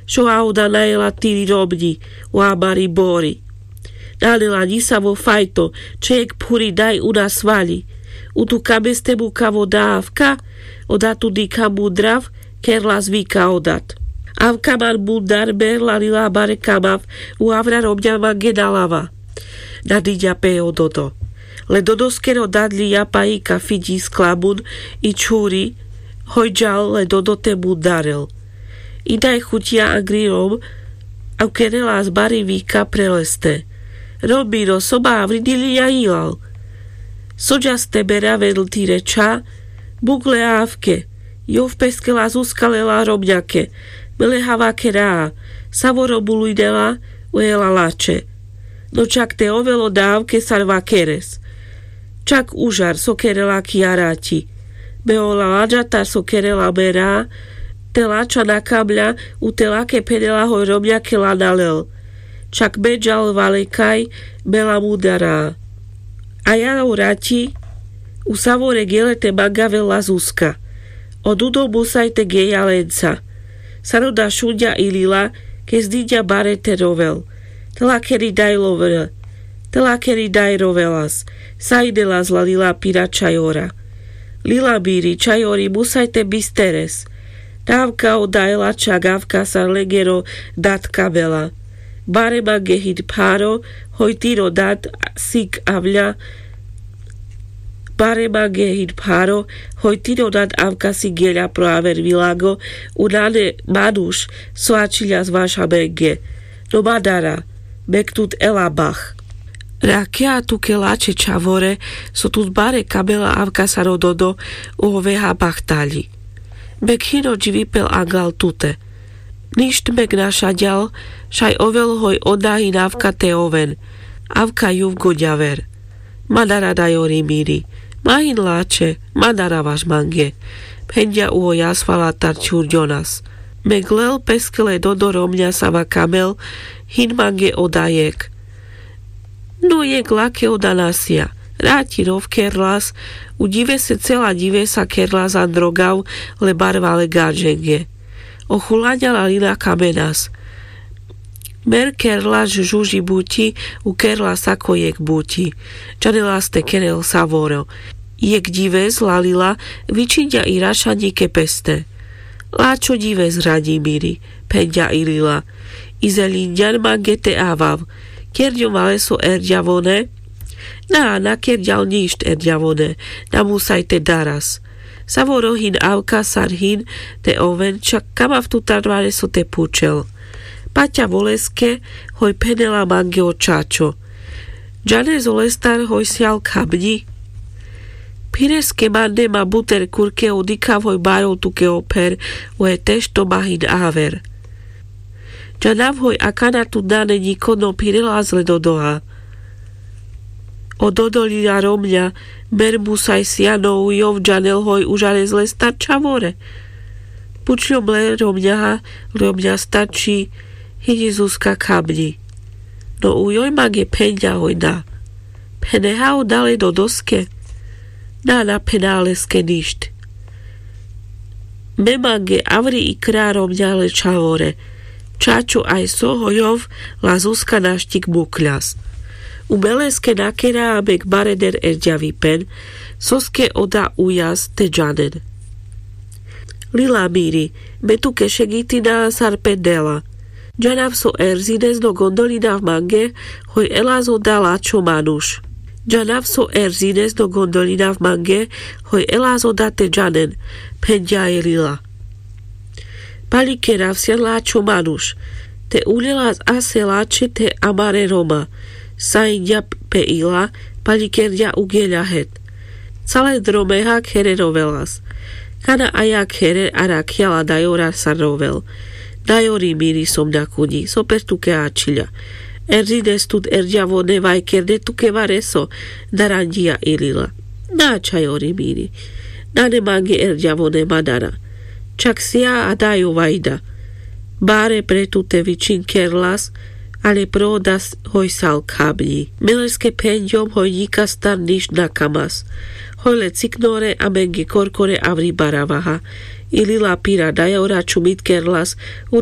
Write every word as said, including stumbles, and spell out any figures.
Šo a oda na jela tiri romňi, u amari bori. Nane la ňisavo fajto, čhejek phuri daj u na svali. U tu kameste mukavo da avka, oda tu dikha mudrav, kerlas vika odat. Avka man mudar, mer la lila, bare kamav, u avra romňa mange na lava. Nadiňa pe o dodo. Le dodoskero dad lia paji kafi ňi sklamun i čhuri, hoj džal le dodo te mudarel. I daj chutia angri rom, a ukerelas bari vika pre leste. Rom miro, so ma avri dilia jilal. So džas te mera vedl tire čha, bukle avke, jov peske la Zuska lela romňake, me le havake raa, savoro bulujnela, u jela lačhe. No čak te ovel oda avke sar vakeres. Čak užar so kerela ki a raťi. Me ola laňatar so kerela me raa, te lačha na kamľa, u te lake phenela hoj romňake la na lel. Čak me džal valekaj, me la mudara. A ja o raťi, u savore gele te mangavel la Zuska. O dudo musaj te geľa lenca. Sar oda šunďa i lila, kes diňa bare te rovel. Te lakeri daj lovre. Te lakeri daj rovelas. Sa idelas la lila pira čhajora. Lila miri, čhajori musaj te bisteres. Te avka oda jela čak avka sar lengero dad kamela. Bare mange hin pharo, hoj tiro dad sik avľa. Bare mange hin pharo, hoj tiro dad avka si geľa pro aver vilago, u nane manuš, so ačhiľas vaš amenge. No ma dara, mek tut ela bach. Rakea tuke lačhe čhavore, so tut bare kamela avka sar o dodo, u oveha bach taľi. Mek hin o dživipel angal tute. Ništ mek na šaďal, šaj ovel hoj oda hin avka te oven. Avka juv goďaver. Ma dara dajori miri. Ma hin lačhe, ma dara vaš mange. Phenďa u o jasvalatar čhurďonas. Mek lel peske le dodo romňa sava kamel, hin mange oda jekh. No jekh lake oda na sija. Raťi rov kerlas, u ďivese cela ďivesa kerlas an rogav, le barvale gaďenge. O chulaňa la lila kamenas. Mer kerlas žuži buťi, u kerlas ako jekh buťi. Džanelas te kerel savoro. Jekh ďives la lila, vičinďa i rašaňike peste. Lačho ďives, raňi miri, phenďa i lila. I zeľinďan mange te avav. Kerďom valeso erďavone. Na, na kerďal ništ erďavone, na musaj te daras. Savoro hin avka sar hin te oven, čak kamav tutar valeso te pučel. Paťa voleske, hoj phenela mange o čačo. Džanes olestar hoj sial khamňi. Phireske mande ma buter kurke, odikhav hoj barol tuke o pher, o e tešto ma hin aver. Džanav hoj akana tut nane ňiko, no phirelas le dodoha. O dodo lila romňa, mer musaj sija, no u jov džanel hoj užares lestar čhavore. Pučľom le romňaha, romňastar či, hiňi Zuska khamňi. No u joj mange phenďa hoj na. Pheneha oda le dodoske. Na, na phena leske ništ. Me mange avri ikra romňa le čhavore. Čačo aj so hoj jov la Zuska našťik mukľas. U me leske nakera, a mek bareder erďavipen, soske oda ujas te džanen. Lila miri, me tuke šegitina sar pe dela. Džanav so erzines, no gondolinav mange, hoj elas oda lačho manuš. Džanav so erzines, no gondolinav mange, hoj elas oda te džanen, phenďa e lila. Paľikerav sian lačho manuš. Te uľelas ase lačhe te amare roma. Sa iňa pe ila, paľikerďa u geľa het. Cale dromeha khere rovelas. Kana aja khere a rakľa la dajora sar rovel. Dajori miri, som na kuňi, so per tuke ačhiľa. Erzines tut erďavone, vajkerde tuke vareso, daranďia i lila. Na, čhajori miri. Nane mange erďavone, ma dara. Čak sija a dajo vajda. Bare pre tute vičin kerlas, ale pro oda hoj sal khamňi. Me leske phenďom hoj ňikastar ništ na kamas. Hoj le ciknore, a menge korkore avri baravaha. I lila pira dajora čumit kerlas, u